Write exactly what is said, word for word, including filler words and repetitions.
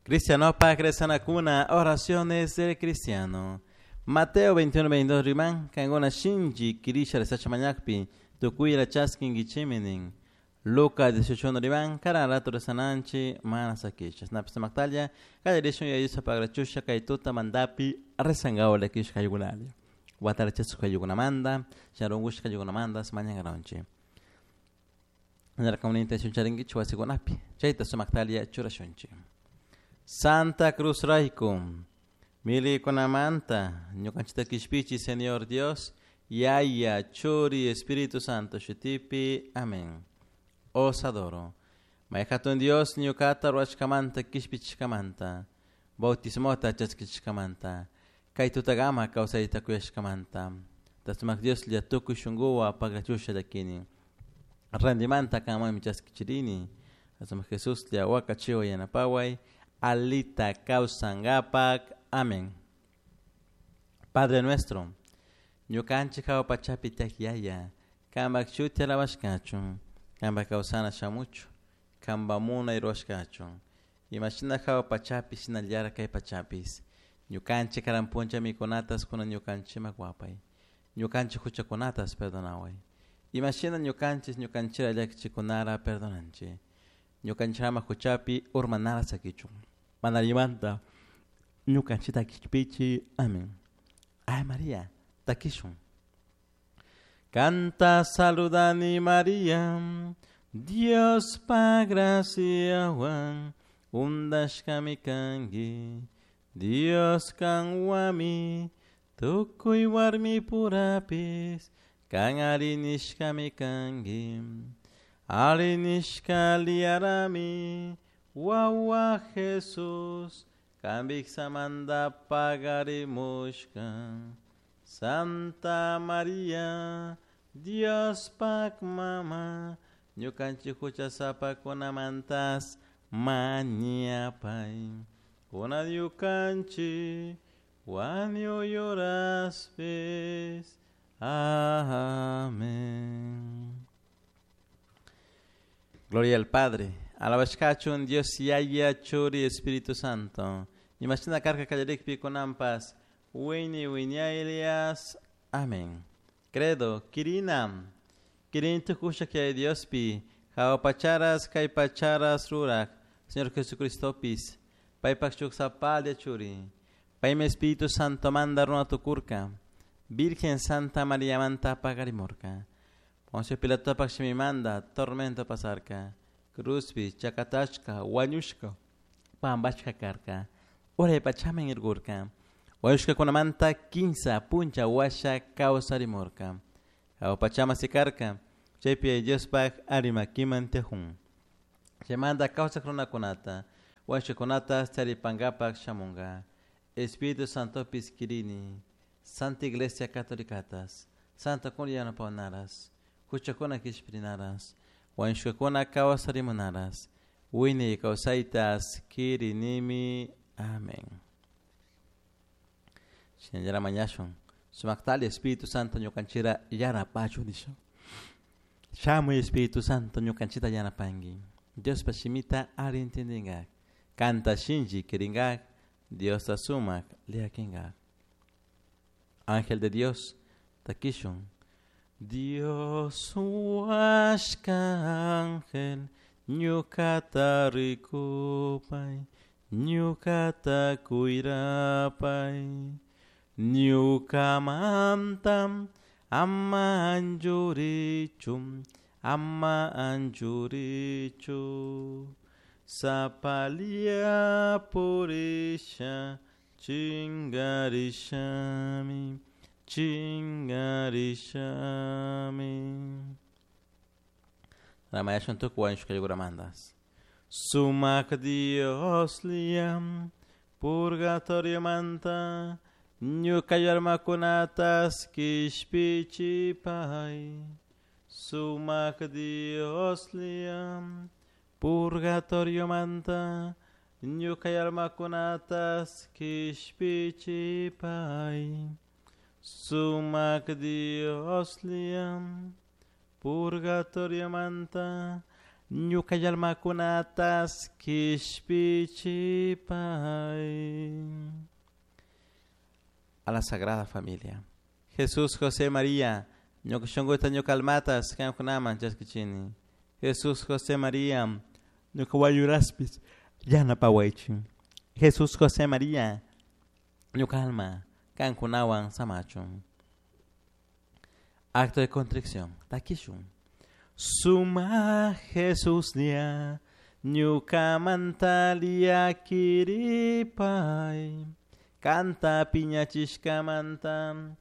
Cristianopak rezanakuna, oraciones del cristiano. Mateo veintiuno veintidós riman, kankuna shinchi kirisha rezacha mañakpi, tukuyla chaskinkichimi nin. Lucas dieciocho uno riman, karan rato rezananchi, mana sakichas. Napis maktalla, kallarishun yayusa pagrachusha, kay tuta mandapi, rezangawa lakish kayukunalla. Watarachasuk kayukunamanta, sharungush kayukunamantas, mañangaronchi. Narka una intención charingichu wasikunapi, chayta sumaktalia churashunchi. Santa Cruz Raikum, milikunamanta, ñukanchita kishpichi, Señor Dios, Yaya, Churi, Espíritu Santo, Shutipi, amén. Os adoro. Mayhatun Dios, ñukata ruachkamanta, kishpichkamanta, bautismota chaskichkamanta, kaytutagama kawsayta kuyashkamanta, tasumak Dios llatukuy shunguwa pagrachusha llakini, randimanta kanmanmi chaskichirini, tasumak Jesús llawaka chiwa yanapaway, alita kawsangapak, amén. Padre nuestro, ñukanchik hawa pachapi tiyak yaya, kanpak shuti alabashkachun, kanpak kawsana shamuchu, kanpak munay ruwashkachun, imashina hawa pachapi shinallara kay pachapis, ñukanchik karan puncha mikunatas kunan ñukanchimak wapay, ñukanchik huchakunatas perdonaway, imashina ñukanchis ñukanchira llakichikunara perdonanchik, ñukanchirama huchapi urmanara sakichun, manarimanta ñukanchita kishpichi, amén. Ay María, takishun. Canta saludani María, Dios pa graciawan, undashkami kanki, Dios kanwami, tukuy warmi purapis, kan arinishkami kanki, arinishka liarami, wawa Jesús, kambiksamanta pagarimushka. Santa María, Dios pak mama, ñukanchik huchasapakunamantas mañapay, kuna ñukanchik wañuyuraspis. Amén. Gloria al Padre, alabashkachun Dios Yaya, Churi, Espíritu Santo. Imashina karka kallarikpi kunampas, wini winiaylias. Amén. Credo, kirinam, kirintu kusha que Diospi, hawa pacharas kay pacharas rurak, Señor Jesucristopis, paypak chuksapalya churi, paymi Espíritu Santo manda runa tukurka, Virgen Santa María manta pagarimurka, Poncio Pilatopak shimimanda, tormento pasarka, cruzpi, chakatashka, wañushka, pambashka karka, uray pachaman irgurka, wañushka kunamanta kinsa puncha washa kawsarimurka, hawa pachama sikarka, chaypi Diospaj arimakiman tejun. Chaymanta kawsak runakunata, wañushkakunata charipankapak shamunka, Espíritu Santopis kirini, Santa Iglesia Católicatas, Santa kuna yanapawanaras, huchakuna kishpirinaras, wañushkakuna kawsarimunaras, wiñay kawsaytas kirinimi. Amén. Shinallara mañashun, sumaktali Espíritu Santo ñukanchira yanapachu nisha. Shamuy Espíritu Santo ñukanchita yanapanki. Diospa shimita ari entendingak, kanta shinchi kiringak, Diosta sumak liakinkak. Ángel de Dios, takishun. Dios huashka ángel, ñukata rikupay, ñukata kuyrapay, ñukamantam ama anchurichu, ama anchurichu, sapalia purisha, chingarishami, chingarishami. Ramayashun tukuy wañushkayuramantas. Sumak Dios liam, purgatorio manta, ñukayarmakunatas kishpichipay. Sumak Dios liam, purgatorio manta, ñukayarmakunatas kishpichipay. Sumak Dios liam, purgatorio manta, Ñuka almakunatas kishpichipay. A la Sagrada Familia. Jesús, José, María, ñuka shunkuta ñuka almatas kankunaman chaskichini. Jesús, José, María, ñuka wañuraspis yanapawaychik. Jesús, José, María, ñuka alma kankunawan samachun. Acto de contrición. Takishun. Suma Jesús nia ñukamanta llakiripay kanta piñachishkamanta.